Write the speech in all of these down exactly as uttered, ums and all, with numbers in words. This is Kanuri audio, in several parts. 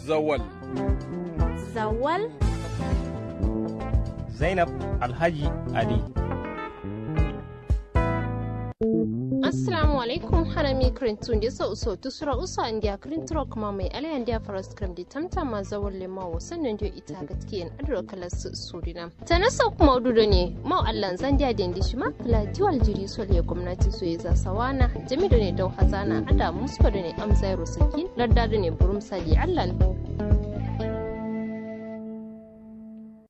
Zawal. Zawal. Zainab Alhaji Ali. Assalamu alaikum. Harami kirintu nde so uso tusura uso andiya kirinturo kuma mai alai andiya faras kirim di tamtama zawal lema wasan nan diyo ita gatkiyen adiro kalas surina. Tanasa kuma udu done mau allan zandiya dendi shima kla diwal jiri sole gomnati soye za sawana jami done dau hazana ada musko done amzairo sakin ladda done burum sali allan.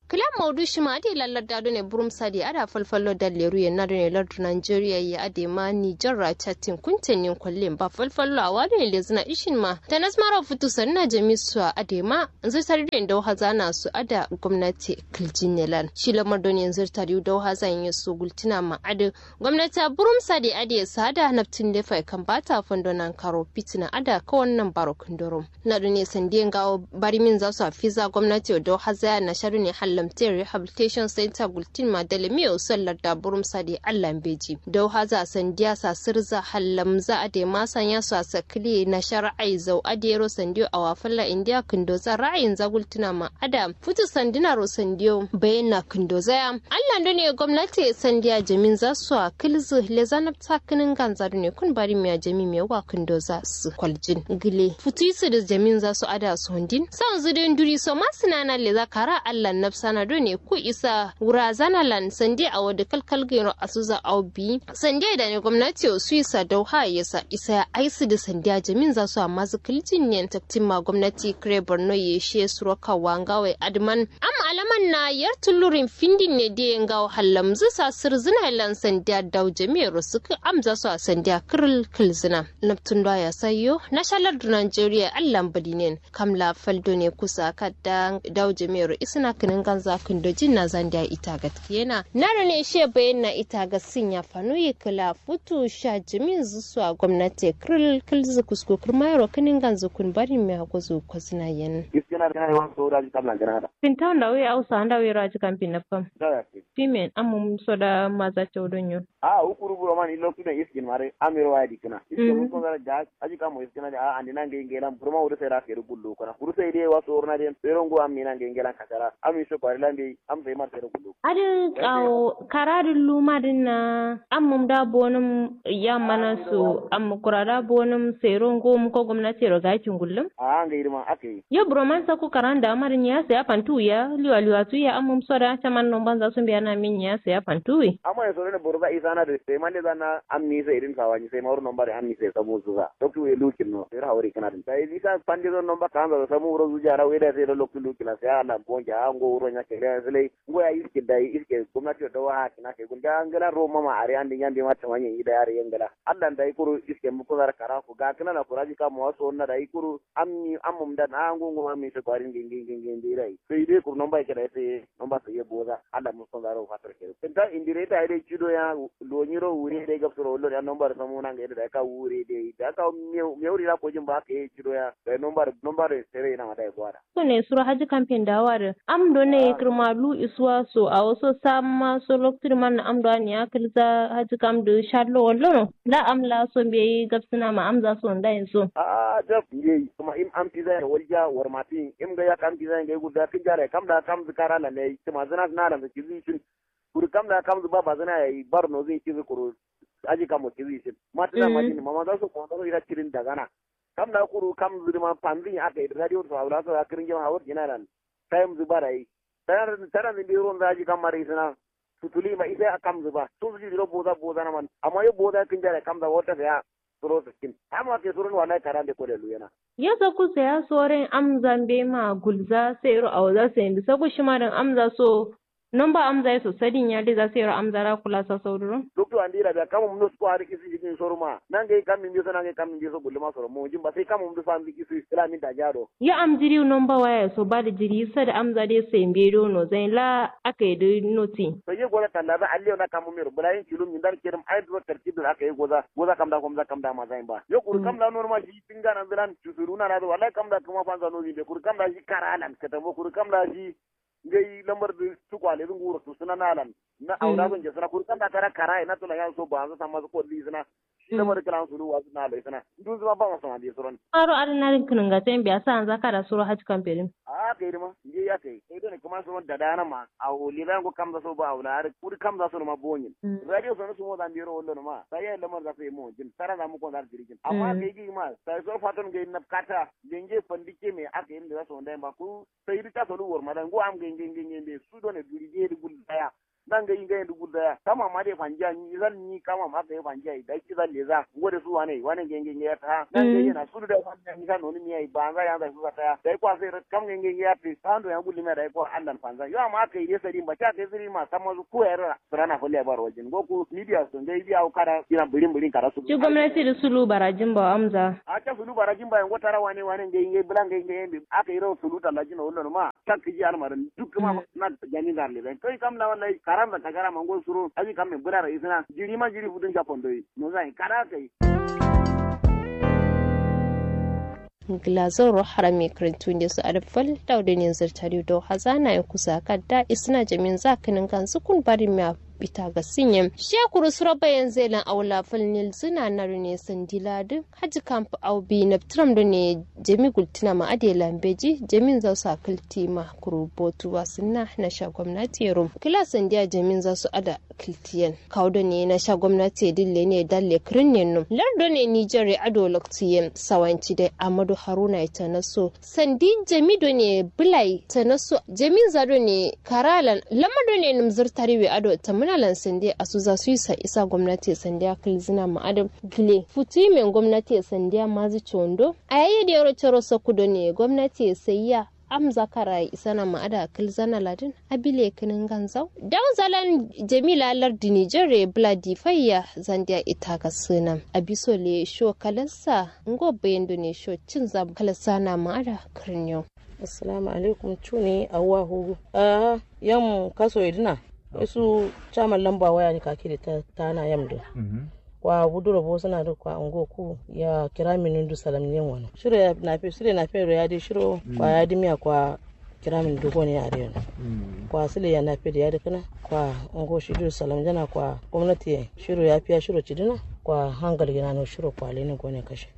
Kla maudu shima ade la ladda done burum sali ada falfallo dalleru ye na done lardu nigeria ye ade ma niger ra chatin kunten nin kollen ba falfallo awa done lezina ishin ma tanas maro futu sanna jami suwa ade ma nzirtari done dau hazana su ada gomnati kiljinne lan shi lamar done nzirtari dau hazan ye su gultina ma ada gomnati a burum sade ade sada naftin de fai kambata fondo nankaro fitina ada kawan nambaro kindorum na done sandiye ngawo barimin za su a fiza gomnati o dau hazaya na sha done hallamte rehabilitation center gultin ma dalamiyo son ladda burum sade allan beji dau haza sandiya sa sirza hallamza ade ma sanya su a sakili na sha ra'ayi zau adero sandiyo awa falla indiya kindoza ra'ayin za gultina ma ada futu sandina ro sandiyo bayin na kindoza ya allan done gomnati sandiya jamin za su a kilzi leza nafta kinin ganza done kun bari miya jami miya wa kindoza su kwaljin gile futu isu da jamin za su ada su hundin sanzu dai nduri so ma sinana leza kara allan nafsana done ku isa wura zana lan sandiya awo da kalkal gairo asuza awo bi sandiya da ne gomnati o su isa dau ha ya sa isa ya aisu da sandiya jamin za su amma zu kiljin ne taktin ma gomnati kire borno ye she suro kawa ngawai adman am alaman na yar tulurin findin ne de ngawo hallamzu sa sirzina lan sandiya dau jami'a ro suku am za su a sandiya kiril kilzina naftun da ya sayo na sha lardu nigeria allan badinen kam la faldo ne kusa kadda dau jami'a ro isna kinin ganza kindo jin na zandiya ita gatkiyena na done she bayin na ita gatsin ya fano yi kila futu sha jamin zu su a gomnati kiril kilzu kusko kirma yaro kinin ganzu kun bari mi hago zu kozina yen. Iskina da yawan so da ji kamlan gana da. Finta wanda wai ausa wanda wai raji kan finna fam. Da ya ce. Fimen amum so da maza ce wudun yo. A ukuru buro man ilo su da iskin mare amiro waya dikina iskin mun ko gara ga aji kamo iskina da a andina ngai ngai lan burma wudu sai ra sai gullu kana kuru sai dai wasu urna den sai rongo amina ngai ngai lan kasara ami so kwari lan dai am sai mar sai gullu. Adin kawo karadin luma din na ammum da bonum yammanan su amma kura da bonum sai rongo mu ko gomnati ro gakin gullum. A ngai irma akai. Yo buro man saku karan da marin ya sai afantu ya liwa liwa tu ya ammum so da chaman non banza sun biya na min ya sai afantu wi. Amma ya sore ne boro za isa na da sai man da zana ammi sai irin sawani sai mawur nomba da ammi sai samu su za doktu ya lukin no sai hawari kana din sai isa fande zon nomba kan za samu ro zuja ra wai da sai loktu lukina sai ala gonja ango uro nya kele sai ngo ya iske da iske gomnati da wa kina kai gunda angala ro mama are andi nyambe mata wanye ida are yangala allan da ikuru iske mu ko zar kara ku ga kana na kuraji ka mu waso na da ikuru ammi ammum da na ango ngo ammi sai kwarin gingin gingin dirai sai dai kur nomba ke da sai nomba sai boza allan mu ko zaro fatar ke ta indire ta dai cido ya lo nyiro wure dai gabsuro lo ya nomba samu nan ga da ka wure dai da ka me wuri la ko jin ba ke cido ya da nomba nomba sai na ma dai gwara. Kune suro haji kamfen da awa dǝ am do ne kǝrma lu isuwa so awo so samma so loktu dǝ man am do aniya kǝlza haji kam dǝ shallo wallono. La am la so mbeyi gabsǝna ma amza so ndayin so. Ahh jab mbeyi kǝma im am piza ye walja warma tin im ngai yak am piza ye ngai gulza kǝnja dai kam da kam zǝ kara lan yayi kǝma zǝna zǝna lan zǝ kizi cin. Kuru kam da kam zǝ ba bazǝna yayi bar nozǝ ye kizi kuru. Aji kam wo kizi cin matǝna majin mama za so kowonza so ira cirin dagana. Kam da kuru kam zǝ dǝ ma fanzǝ ye aka ye dǝ radio dǝ so awula so ya kǝrǝnge ma hawar jina lan. Tayim zǝ ba dayi. Taran zǝ mbeyi ronza aji kam ma dǝ isǝna. Sutuli ma isa ya kamzǝ ba sozǝ jiri ro boza boza naman amma yo boza kǝnja dai kamza wata saya. Suro sǝkkin amma ke suron wallahi karande kode luyena. Yo sokku saya soren amza mbeyi ma gulza sairo awoza sayin dǝ sokku shima dǝn amza so. Nomba amza ye so sadin ya dai za sairo amza ra kula sa sauduro. Loktu andi ra biya kamum nosko har kisi jikin soruma nangai kammin biso nangai kammin biso gulluma soro mojin ba sai kamum dǝ so andi kisi kila min dajiya do. Yo am jiri nomba waya so ba dǝ jiri sad amza dai sai mbeyi do nozai la. Aka ye dǝ noti. Sai ye goza kalla za alle yo na kamu mero bǝla yin kilum mindar kirim ai duro tartib dǝ aka ye goza goza kam da komza kam da maza yin ba yo kuru kam da normal shi tinga nan zǝlan cusuru na na dǝ wallahi kam da kǝma fanza nozi be kuru kam da shi kara lan katambo kuru kam da shi. Ngai lamar dǝ tukwale dǝ nguro tusǝna nalan. Na awo na so njesǝna kuru kanda tara karaye na tula ya so ba so samma so kolli sǝna. Shi lamar kǝla sulu wa sǝna lai sǝna. Ndun zǝma ba ma samma dǝ suron. Aro adǝ nadǝn kǝnǝnga ten biya sa anza kada suro hajji kamfe dǝn. A kai dǝma ngai ya kai kai done kǝma suron dadana ma. Awo lila ngo kamza so ba awo la adǝ kuru kamza so ma bonyin. Radio so na sumo zan biro wallo ma sai ya lamar za so yi mo jin tara za mu kon za diri jin amma kai gi ma sai so faton ngai nabkata. Lenge fandike me aka yi da za so ndai ba ku. Sai duk ta solu wor madan go am ngai ngai ngai ngai be su done duri ge duk gul daya. Nan ngai ngai duk gul daya kama ma de fanjiya ni zan ni kama ma kai fanjiya da ki zan le za. Ngo de su wane wane ngai ngai ngai ta nan ngai na su da fanjiya ni zan no ni mi ai ba za ya za su za ta ya dai kwa sai kam ngai ngai ngai ya te san do ya gul mi dai kwa andan fanza yo amma kai de sai ba ta kai siri ma sama su ko ya ra sirana fo le bar wajin go ku media so ngai biya kada ina birin birin kada su. Shi gwamnati da sulu barajin ba amza. A ta sulu barajin ba yango tara wane wane ngai ngai bula ngai ngai yambe aka yi ro sulu tallajin wallo ma. Takki ji almarin duk kuma na jami gar le ben kai kam la wallahi karam da kagara mango suro aji kam me bura rai suna jiri ma jiri futun ja kondo yi no zai kada kai. Ngla zoro harami krintu nde su adab fal daw de ne zirtari do hazana ya kusa kadda isna jamin za kinin kan sukun bari miya bita ga sinye she kuru suro bayan zelan awla fal nil zina na rune sandila duk haji kamp au bi na tram do ne jami gultina ma ade lambeji jamin za su akilti ma kuru botu wasinna na sha gwamnati rum kila sandiya jamin za su ada kiltiyen kawo do ne na sha gwamnati dille ne dalle kirin ne num lar do ne nijar ya ado loktiyen sawanci dai amadu haruna ita na so sandi jami do ne bulai ta na so jami za do ne karalan lama do ne num zurtari we ado ta munalan sandi asu za su yi sa isa gwamnati sandi akil zina ma adam gile futu men gwamnati sandi mazu condo a yayi da yaro caro saku do ne gwamnati sayya am zakara isana ma ada kil zana ladin abile kinin ganzau daw zalan jamila lardi nijar re bla difayya zandiya ita ga sunam abiso le sho kalansa ngo bayan do ne sho cin zam kalansa na ma ada kirnyo. Assalamu alaikum cuni awwa hugu a yam kaso idina. Wai su chairman lamba waya ni kaki da ta tana yam da kwa buduro bo suna da kwa ungo ku ya kira minin du salam ne wano shiro ya nafe shiro nafe ro ya di shiro kwa ya di miya kwa kira min du gone ya di yana kwa sile ya nafe da ya di kana kwa ungo shi du salam jana kwa gwamnati ya shiro ya fiya shiro cidina kwa hangal gina no shiro kwa lenin gone kashe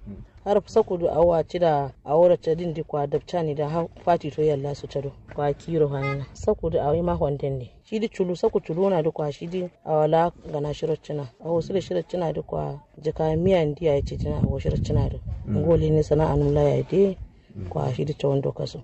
har saku du awa cida awora cadin di kwa dabcani da fati to yalla su cado kwa kiro hanina saku du awi ma honden ne. Shidi culu saku culuna di kwa shidi awala gana shiro cina awo sile shiro cina di kwa jika miya ndi yayi cidina awo shiro cina di ngoli ni sana anum la yayi di kwa shidi cawon do kaso.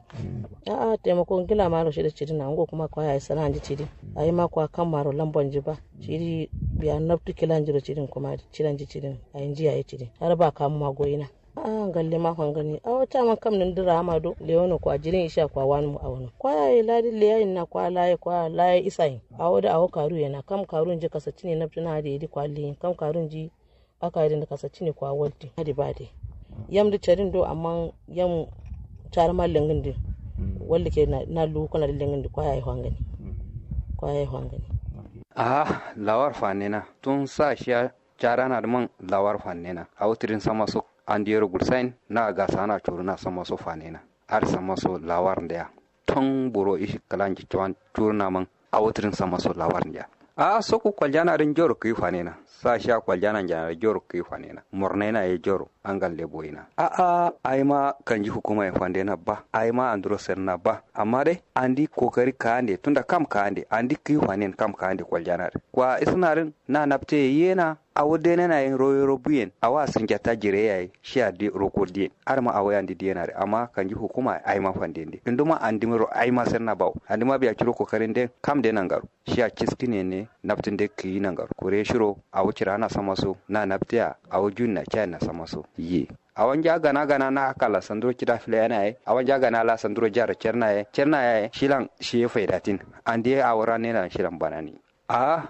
A'a taimako ngila maro shidi cidina ngo kuma kwa yayi sana ndi cidi. Ayi ma kwa kam maro lambon ji ba shidi biya nabtu kilan jiro cidin kuma cidan ji cidin ayi nji yayi cidin har ba kamu ma goyina. A'a ngalle ma fangani awo caman kam nǝndǝ ra'ama do lewono kwa jirin isha kwa wanǝm awono kwa yayi ladi leyayin na kwa laye kwa laye isayin. Awo dǝ awo karu yena kam karu nji kasaccine nabtǝna adǝ yedi kwa leyin kam karu nji. Aka yedǝ nǝ kasaccine kwa waltin adǝ ba dǝ yam dǝ carin do amma yam carǝma lengǝn dǝ waltǝ ke na luwu kǝna dǝ lengǝn dǝ kwa yayi fangani. Kwa yayi fangani. Aha lawar fanena tun sa shiya. Carana dǝ man lawar fannena awo tǝdin sama so. Andi yero gulsayin na gasana curuna sama so fannena. Adǝ sama so lawar ndeya. Ton buro ishi kǝlanji cuwan curuna man awo tǝdin sama so lawar ndeya. A'a sokku kwaljana dǝ njoro kǝyi fannena. Sa shiya kwaljana njana dǝ njoro kǝyi fannena mornaina ye njoro. Angal nde boyina a'a ayima kanji hukuma ye fandena ba ayima anduro serna ba. Amma dai andi kokari kaande tunda kam kaande andi kǝyi fannen kam kaande kwaljana dǝ kwa isǝna dǝn. Na napte ye yena awo denena ye royoro buyen awo asǝnjatta jire yaye shiya de roko diyen. Adǝma awo ye andi diyena dǝ amma kanji hukuma ye ayima fanden de induma andimaro ayima serna bawo andima biya curo kokarin de kam de nangaro. Shiya ciskǝne ne naptǝn de kǝyi nangaro kure shiro. Awo cirana samaso na napte ya awo junna cayenna samaso ye. Awanja gana gana na kala sanduro cida filayana ye awanja gana la sanduro jaro cerna ye cerna yaye shilan shiye faidatin. Andiye awo rannelan shilan banani. Aha.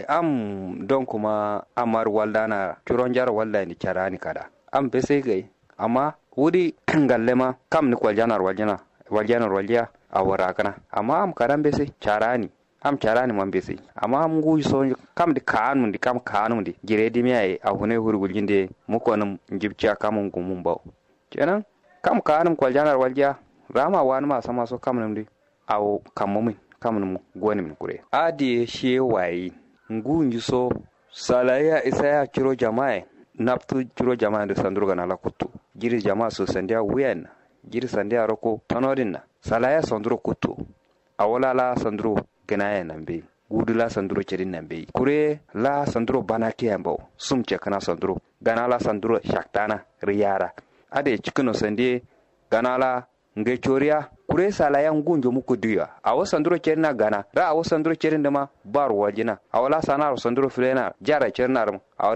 Am don kuma amar waldana curonjaro waldani carani kada. Am besai gai amma wudi ngallema kam ni kwaljanar waljana waljanar walja. Awo rakana amma am kadan besai carani. Am carani man besai amma am nguyi so kam di kaanum di kam kaanum di jire dimiya ye ahune huri wuljinde. Mukonum njibciya kamun gumun bawo. Kenan kam kaanum kwaljanar walja. Rama wanuma samaso kamnum di. Awo kammumin kamnum gonimin kure adǝ ye shiye wayeyin. Ngu njiso salaya isaya curo jama'a ye. Nabtu curo jama'a ndǝ sanduro gana la kuttu. Jiri jama'a so sandiya wuyen na jiri sandiya roko tonodin na salaya sanduro kuttu. Awo la la sanduro gǝnaye nambeyi. Gudu la sanduro cedin nambeyi kure la sanduro bana kiya mbawo. Sum cekǝna sanduro gana la sanduro shaktana riyara. Adǝ ye cikǝno sandiye gana la ngai coriya. Kure salaya ngu njomu kuduya awo sanduro cedina gana ra awo sanduro cedin dǝma baro waljina. Awo la sanaro sanduro filena jara cedina rǝm awo dǝma